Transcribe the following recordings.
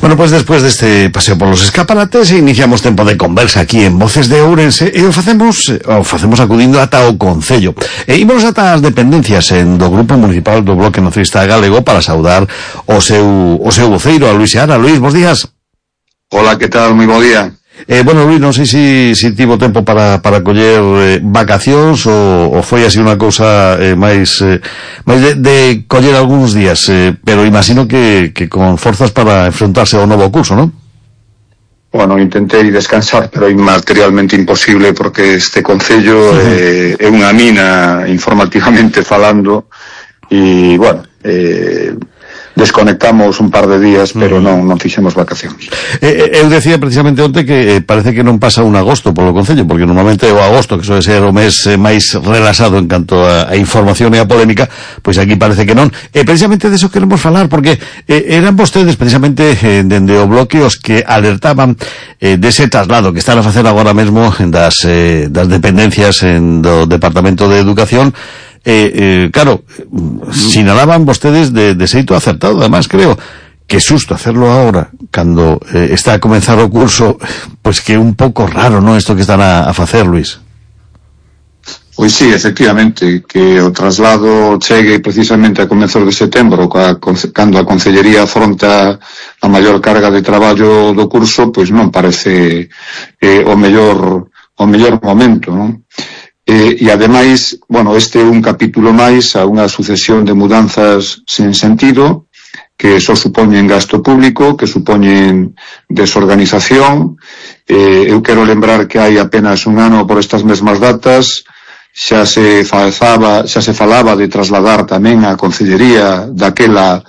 Bueno, pues después deste paseo por los escaparates iniciamos tempo de conversa aquí en Voces de Ourense e o facemos acudindo ata o Concello. Ímonos ata as dependencias do Grupo Municipal do Bloque Nacionalista Galego para saudar o seu voceiro, a Luís Seara. Luís, bons días. Hola, que tal? Moi bo día. Bueno, Luís, non sei se tivo tempo para coller vacacións ou foi así unha cousa máis de coller algúns días, pero imagino que con forzas para enfrentarse ao novo curso, non? Bueno, intentei descansar, pero é materialmente imposible porque este concello é unha mina informativamente falando e, bueno, desconectamos un par de días, pero non fixemos vacacións. Eu decía precisamente onte que parece que non pasa un agosto polo Concello, porque normalmente o agosto, que suele ser o mes máis relaxado en canto a información e a polémica, pois aquí parece que non. Precisamente deso queremos falar, porque eran vostedes precisamente dende o bloque os que alertaban dese traslado que están a facer agora mesmo das dependencias do Departamento de Educación. Claro, sinalaban vostedes de xeito acertado, además creo que susto hacerlo ahora cando está a comenzar o curso, pois que é un pouco raro, non, isto que están a facer, Luís. Pois sí, efectivamente, que o traslado chegue precisamente a comezos de setembro, cando a Concellería afronta a maior carga de traballo do curso, pois non parece o mellor momento, non? E ademais, bueno, este é un capítulo máis a unha sucesión de mudanzas sen sentido que só supoñen gasto público, que supoñen desorganización. Eu quero lembrar que hai apenas un ano por estas mesmas datas xa se falaba de trasladar tamén a Concellería daquela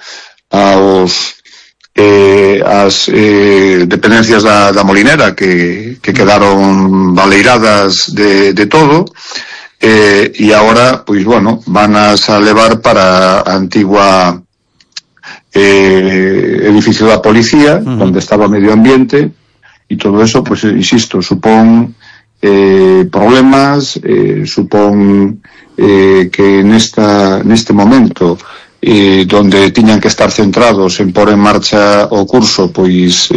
as dependencias da Molinera que quedaron baleiradas de todo, e agora, pois bueno, vanas a levar para a antigua edificio da policía, onde estaba medio ambiente, e todo eso, pois insisto, supón problemas, supón que neste momento donde tiñan que estar centrados en pôr en marcha o curso, pois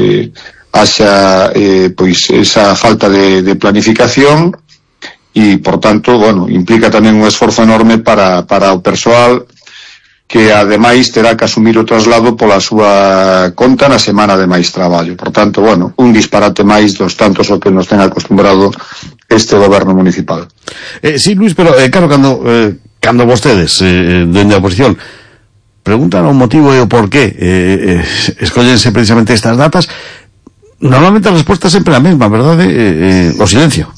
haxa pois esa falta de planificación e, por tanto, bueno, implica tamén un esforzo enorme para o persoal que ademais terá que asumir o traslado pola súa conta na semana de máis traballo. Por tanto, bueno, un disparate máis dos tantos o que nos ten acostumbrado este goberno municipal. Sí, Luís, pero claro, cando vostedes dende a oposición preguntan o motivo e o porqué escollense precisamente estas datas, normalmente a resposta é sempre a mesma, verdade? O silencio.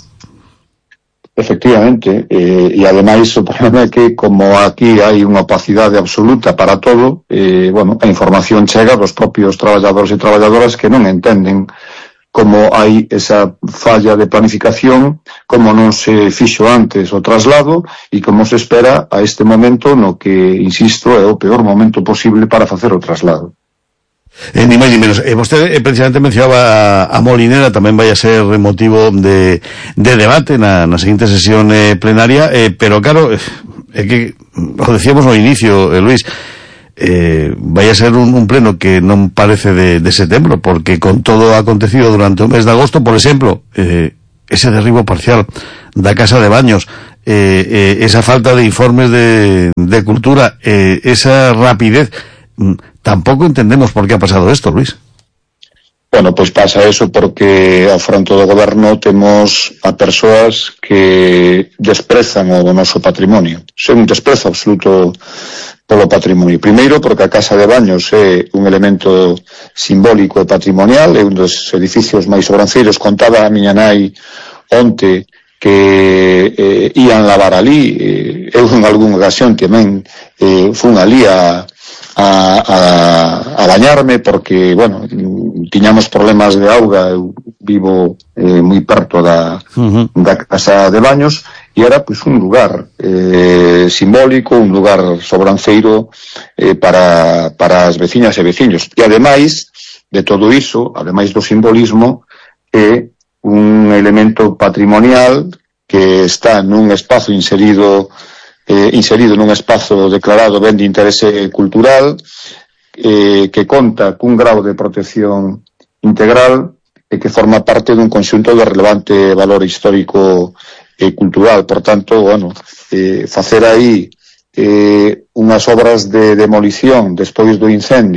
Efectivamente, e ademais o problema é que como aquí hai unha opacidade absoluta para todo, bueno, a información chega dos propios traballadores e traballadoras que non entenden como hai esa falla de planificación, como non se fixo antes o traslado e como se espera a este momento no que, insisto, é o peor momento posible para facer o traslado. Ni máis ni menos. Vostede precisamente mencionaba a Molinera, tamén vai a ser motivo de debate na seguinte sesión plenaria, pero claro, é que o decíamos no inicio, Luís, vai a ser un pleno que non parece de setembro, porque con todo o acontecido durante o mes de agosto, por exemplo, ese derribo parcial da Casa de Baños, esa falta de informes de cultura, esa rapidez, tampouco entendemos por qué ha pasado esto, Luis. Bueno, pois pasa eso porque ao fronte do goberno temos a persoas que desprezan o noso patrimonio. É un desprezo absoluto polo patrimonio. Primeiro, porque a Casa de Baños é un elemento simbólico e patrimonial, é un dos edificios máis sobranceiros. Contaba a miña nai onte que ían lavar ali, eu en algunha ocasión tamén fun ali a bañarme porque, bueno, tiñamos problemas de auga. Eu vivo moi perto da Casa de Baños e era pois un lugar simbólico, un lugar sobranceiro para as veciñas e veciños. E ademais de todo iso, ademais do simbolismo, é un elemento patrimonial que está nun espazo inserido nun espazo declarado ben de interese cultural, que conta cun grau de protección integral e que forma parte dun conxunto de relevante valor histórico e cultural. Por tanto, bueno, facer aí unhas obras de demolición despois do incendio